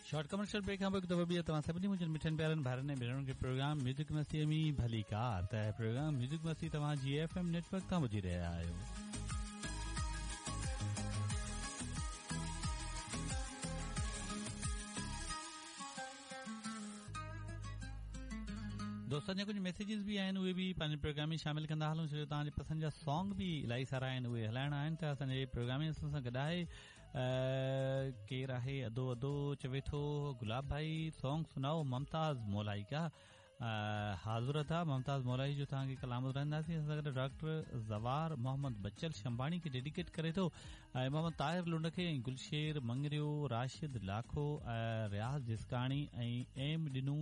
Short commercial break کان پوء هڪ دفعو ٻيهر توهان سڀني منهنجن مٺن پيارن ڀائرن ۽ ڀينرن کي پروگرام ميوزڪ مستي ۾ ڀليڪار ته پروگرام ميوزڪ مستي توهان جي ايف ايم نيٽ ورڪ تان ٻڌي رهيا آهيو. دوستن جا ڪجهه ميسيجز به آهن اهي به پنهنجي پروگرام ۾ شامل ڪندا هلون ڇو جو توهان جي پسند جا سانگ به الاهي سارا آهن اهي هلائڻا آهن ته اسان جي پروگرام ۾ اسان سان گڏ آهي ڪير آهي ادو ادو چوي ٿو گلاب ڀائي سانگ سنائو ممتاز مولائي ڪا حاضر ادا ممتاز مولائي جو توهان کي ڪلام ٻڌائينداسين اسان سان گڏ ڊاڪٽر زوار محمد بچل شمباڻي کي ڊيڊيڪيٽ ڪري ٿو ۽ محمد طاهر لنڊ کي ۽ گلشير مڱريو راشد لاکو رياض جسڪاڻي ۽ ايم ڏنو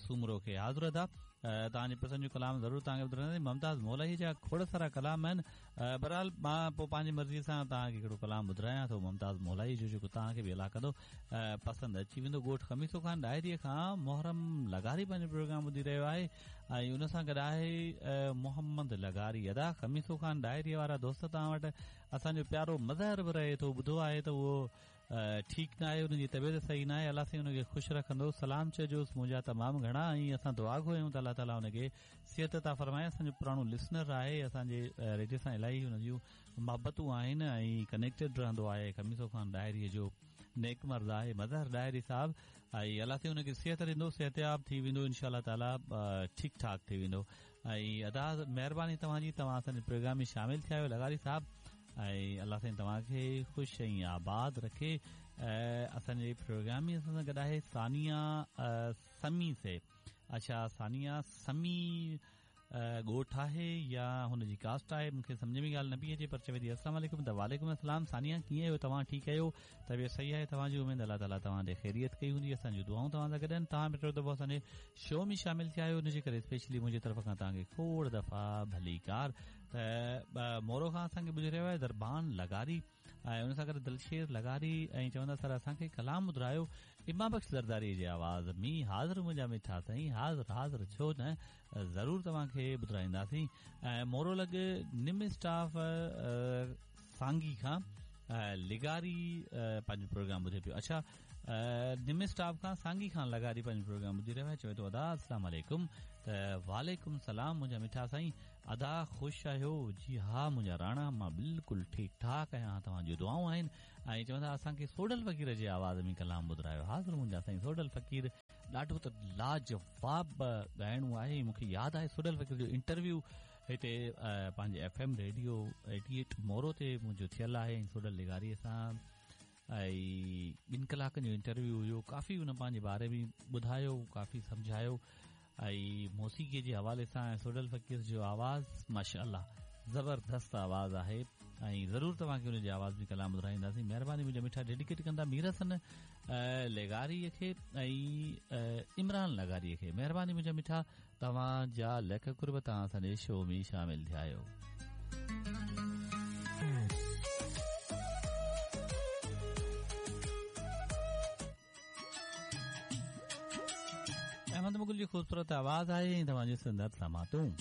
سومرو کي حاضر ادا توهان جي پسند جو ڪلام ضرور توهان کي ٻڌائينداسين ممتاز مولائي جا کوڙ سارا ڪلام آهن بهرحال مان پوء پنهنجي مرضي سان توهان کي هڪڙو ڪلام ٻڌرايان ٿو ممتاز مولائي جو جيڪو توهان کي به الله ڪندو پسند اچي ويندو ڳوٺ خميسو خان ڏاهري کان محرم لغاري پنهنجو پروگرام ٻڌي رهيو آهي ۽ ان سان گڏ آهي محمد لغاري ادا خميسو خان ڏاهري وارا دوست توهان وٽ اسان جو پيارو مظهر به رهي ٿو ٻڌو آهي ته اهو ٺيڪ ناهي ان جي طبيعت صحيح ناهي الله سائين ان کي خوش رکندو سلام چئجوس منهنجا تمام گهڻا ۽ اسان دعا گو آهيون ته الله تعالي ان کي صحت عطا فرمائي اسان جو پراڻو لسنر آهي اسان جي ريڊيو سان الاهي ان جون محبتون آهن ۽ ڪنيڪٽيڊ رهندو آهي خميسو خان ڏاهري جو نيڪ مرد آهي مظهر ڏاهري صاحب ۽ الله سائين ان کي صحت ڏيندو صحتياب ٿي ويندو انشاء الله تعالي ٺيڪ ٺاڪ ٿي ويندو ۽ ادا مهرباني توهان جي توهان اسان جي پروگرام ۾ شامل ٿيا آهيو لغاري صاحب ۽ الله سائين توهان کي خوش ۽ آباد رکي اسان جي پروگرام ۾ اسان سان گڏ آهي ثانيه سمي سي اڇا ثانيه سمي ڳوٺ آهي يا هن جي ڪاسٽ آهي مون کي سمجهه ۾ ڳالهه نه پئي اچي پر چوي ٿي السلام عليڪم ته وعليڪم السلام ثانيه ڪيئن آهيو توهان ٺيڪ آهيو طبيعت صحيح آهي توهان جي اميد الله تعالي توهان جي خيريت ڪئي هوندي اسان جون دعائون توهان سان گڏ آهن توهان به ٽيون دفعو اسان جي شو ۾ شامل ٿيا آهيو ان جي ڪري اسپيشلي منهنجي طرف کان توهان کي کوڙ دفعا ڀليڪار ته مورو کان اسان کي ٻڌي رهيو آهي دربان لغاري ۽ ان سان گڏ دلشير لغاري ۽ چوندا سر اسان کي ڪلام ٻڌرايو امام بخش زرداري جي آواز ۾ حاضر منهنجا مٺا سائين حاضر حاضر ڇو نه ضرور توهان کي ٻڌرائينداسين ۽ مورو لڳ نم اسٽاف سانگي کان لغاري پنهنجو پروگرام ٻڌي پيو اڇا نم اسٽاپ کان سانگي کان لغاري پنهنجو پروگرام ٻڌي رهيو آهي چوي ٿو ادا السلام عليڪم ته وعليڪم السلام منهنجا مٺا سائين ادا خوش آهيو جي ها منهنجا راڻا مان بلڪل ٺيڪ ٺاڪ آهيان توهان جون دعائون آهن ۽ چوندا اسان کي سوڍل فقير جي آواز ۾ ڪلام ٻڌرايو حاضر منهنجا سائين سوڍل فقير ڏاڍو ته لاجواب ڳائڻو آهي مون کي ياد آهي سوڍل فقير جو انٽرويو هتي پنهنجي ايف ايم ريڊيو 88 مورو تي منهنجو ٿيل آهي ۽ سوڍل لغاري سان ۽ ٻن ڪلاڪن جو انٽرويو هيو ڪافي ان پنهنجي باري ۾ ٻڌايو ڪافي سمجهايو ۽ موسيقي جي حوالي سان ۽ سوڍل فقير جو آواز ماشاء الله زبردست آواز آهي ۽ ضرور توهان کي ان جي آواز ۾ ڪلام ٻڌرائينداسين مهرباني منهنجا مٺا ڊيڊيڪيٽ ڪندا مير حسن لغاري کي ۽ عمران لغاري کي مهرباني منهنجا مٺا توهان جا لک قرب توهان اسان جي شو ۾ شامل ٿيا آهيو. احمد مغل جي خوبصورت آواز آهي ۽ توهان جي سندر سماعتون.